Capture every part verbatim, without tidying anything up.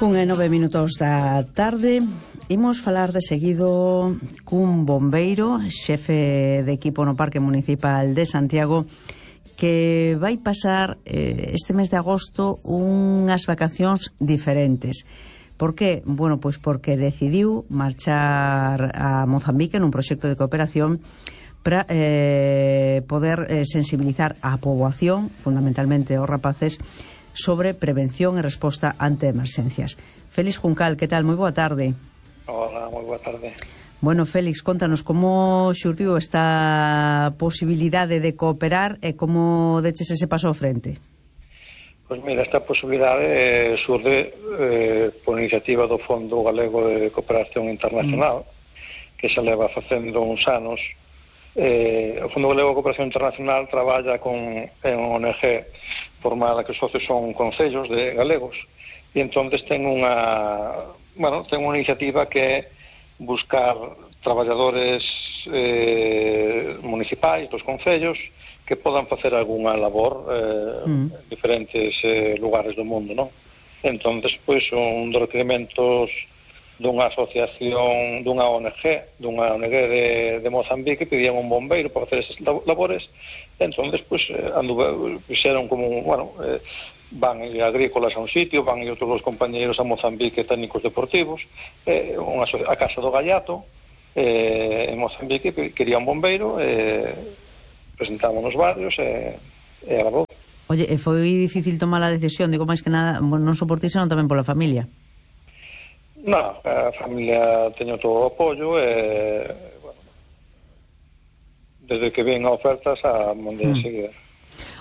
Un e nove minutos da tarde. Imos falar de seguido cun bombeiro, xefe de equipo no Parque Municipal de Santiago, que vai pasar eh, este mes de agosto unhas vacacións diferentes. Por que? Bueno, pois porque decidiu marchar a Mozambique nun proxecto de cooperación para eh, poder eh, sensibilizar a poboación, fundamentalmente os rapaces, sobre prevención e resposta ante emerxencias. Félix Juncal, que tal? Moi boa tarde. Hola, moi boa tarde. Bueno, Félix, contanos como xurdiu esta posibilidade de cooperar e como deches ese paso ao frente. Pois mira, esta posibilidade eh, surde eh, por iniciativa do Fondo Galego de Cooperación Internacional, mm. que se leva facendo uns anos. Eh, o Fondo Galego de Cooperación Internacional traballa con en O N G formada que os socios son concellos de galegos e entonces ten unha bueno, ten unha iniciativa que é buscar traballadores eh, municipais dos concellos que podan facer algunha labor eh, mm. en diferentes eh, lugares do mundo, non? Entonces, pois, un dos requerimentos dunha asociación, dunha O N G, dunha O N G de, de Mozambique, pedían un bombeiro para facer esas labores. Entonces, pues, anduve, fixeron como, bueno, eh, van agrícolas a un sitio, van e outros dos compañeiros a Mozambique técnicos deportivos, eh, unha, a Casa do Gallato, eh, en Mozambique, quería un bombeiro, eh, presentámonos varios, e eh, agradou. Oye, e foi difícil tomar a decisión, digo, máis que nada, non soportís, senón tamén pola familia. Non, a familia teño todo o apoio e, bueno, desde que ven a ofertas a mandei hmm. a seguir.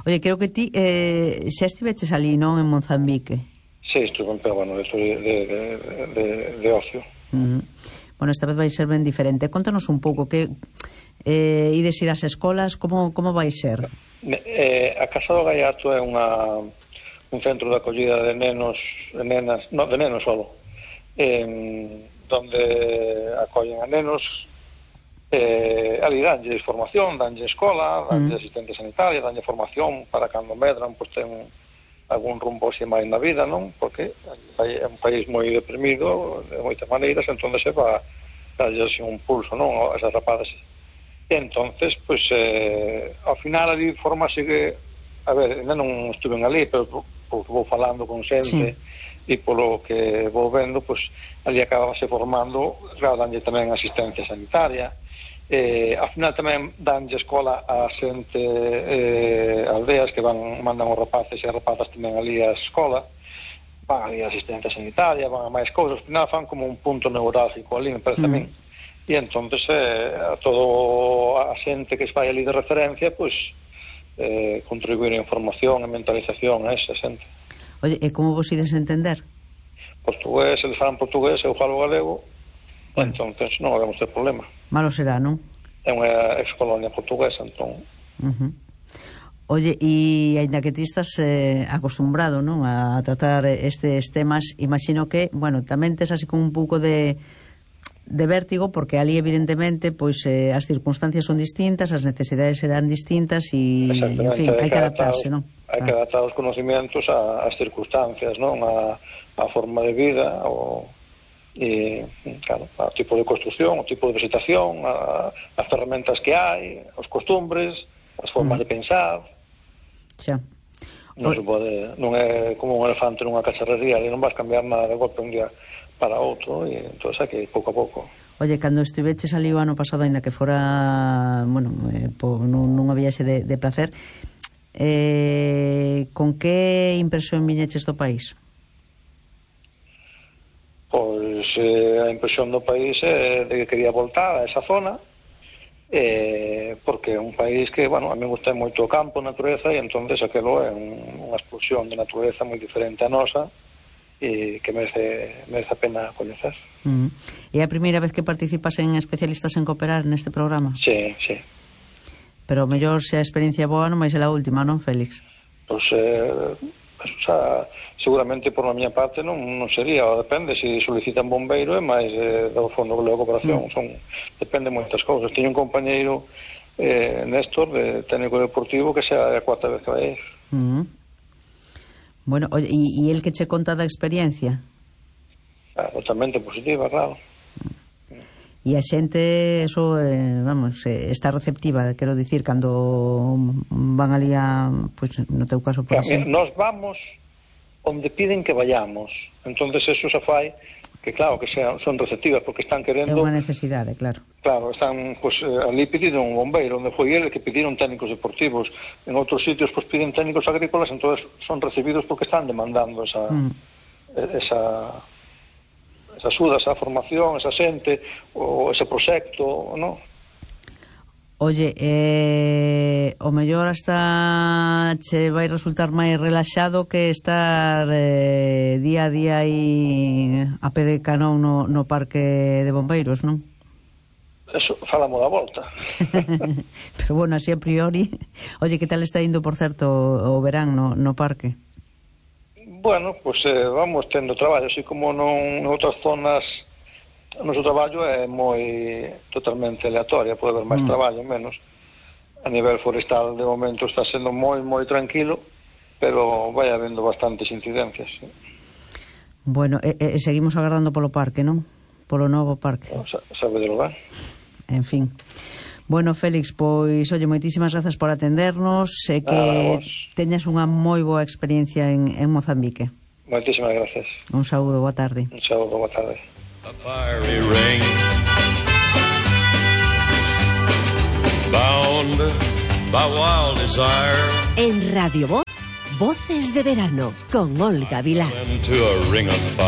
Oye, creo que ti eh, xa estiveches ali, non, en Mozambique? Sí, estuve, pero bueno, esto de, de, de, de ocio. Uh-huh. Bueno, esta vez vai ser ben diferente. Contanos un pouco, que eh, ides ir ás escolas, como, como vai ser? Eh, a Casa do Gallato é unha, un centro de acollida de nenos, de nenas, no, de nenos solo. En, donde acollen a nenos, eh, ali danlle formación, danlle escola, danlle mm. asistente sanitaria, danlle formación para cando medran, pois ten algún rumbo así máis na vida, non? Porque é un país moi deprimido de moitas maneiras, entonces se va darlle así un pulso, non? A esas rapadas. E entonces, pois, eh, ao final ali forma así que, a ver, ainda non estuven ali, pero vou falando con xente, sí. E polo que vou vendo, pois, ali acabase formando, claro, danlle tamén asistencia sanitaria, eh, ao final tamén danlle escola a xente, eh, aldeas que van, mandan os rapaces e as rapazas tamén ali a escola, van ali a asistencia sanitaria, van a máis cousas, ao final fan como un punto neurálgico ali, me parece mm. a min, e entonces eh, a todo a xente que se vai ali de referencia, pois, eh, contribuir a información e mentalización a esa xente. Oye, e como vos ides entender? Portugués, eles falan portugués, eu falo galego, bueno. Entonces non habemos ter problema. Malo será, non? É unha ex-colonia portuguesa, entón... Uh-huh. Oye, e ainda que ti estás eh, acostumbrado, non, a tratar estes temas, imagino que, bueno, tamén tes así como un pouco de... de vértigo, porque ali evidentemente pois eh, as circunstancias son distintas, as necesidades serán distintas e, en fin, hai que adaptarse, non? Hai que adaptar os conocimientos ás circunstancias, non? A, a forma de vida, o, e, claro, ao tipo de construción, o tipo de vegetación, a, as ferramentas que hai, os costumbres, as formas mm. de pensar. Xa. Non se pode, non é como un elefante nunha cacharrería, e non vas cambiar nada de golpe un día para outro, e entón hai que ir pouco a pouco. Oye, cando estiveches ali o ano pasado, ainda que fora, bueno, eh, po, nun, nunha viaxe de, de placer, eh, con que impresión viñeches do país? Pois eh, a impresión do país é de que quería voltar a esa zona, eh, porque é un país que, bueno, a mí me gusta moito o campo, a natureza, e entonces aquelo é un, unha explosión de natureza moi diferente a nosa, e que merece, merece a pena coñecer. Uh-huh. É a primeira vez que participas en Especialistas en Cooperar neste programa? Sí, sí. Pero mellor se a experiencia boa non vai ser a última, non, Félix? Pois, eh, o sea, seguramente por a miña parte non, non sería, o depende, se solicitan bombeiro e máis eh, do Fondo Galego de Cooperación, uh-huh. son, depende moitas cousas. Teño un compañeiro, eh, Néstor, de técnico deportivo, que sea a cuarta vez que vai ir. Uh-huh. Bueno, e el que che conta da experiencia? totalmente positiva, claro. E a xente, eso, eh, vamos, eh, está receptiva, quero dicir, cando van ali a, pues, no teu caso, por exemplo. Nos vamos onde piden que vayamos, entonces eso se fai que, claro, que sean, son receptivas, porque están querendo... É unha necesidade, claro. Claro, están, pues, ali pediron un bombeiro, onde foi ele, que pediron técnicos deportivos, en outros sitios, pues, piden técnicos agrícolas, entonces son recibidos porque están demandando esa... Mm. esa esa axuda, esa formación, esa xente, ou ese proxecto, non? Oye, eh, o mellor hasta che vai resultar máis relaxado que estar eh, día a día aí a pé de canón no, no parque de bombeiros, non? Eso, falamos da volta. Pero bueno, así a priori. Oye, que tal está indo, por certo, o verán no, no parque? Bueno, pues eh, vamos tendo traballo, así como non en outras zonas o noso traballo é moi totalmente aleatoria, pode haber máis mm. traballo, menos. A nivel forestal, de momento, está sendo moi, moi tranquilo, pero vai habendo bastantes incidencias. Sí. Bueno, e, e seguimos agardando polo parque, non? Polo novo parque. No, sabe de lugar. En fin. Bueno, Félix, pois, oye, moitísimas grazas por atendernos e que teñas unha moi boa experiencia en, en Mozambique. Moitísimas grazas. Un saúdo, boa tarde. Un saúdo, boa tarde. A fiery ring bound by wild desire. En Radio Voz, Voces de Verano, con Olga Vilar. Into a ring of fire.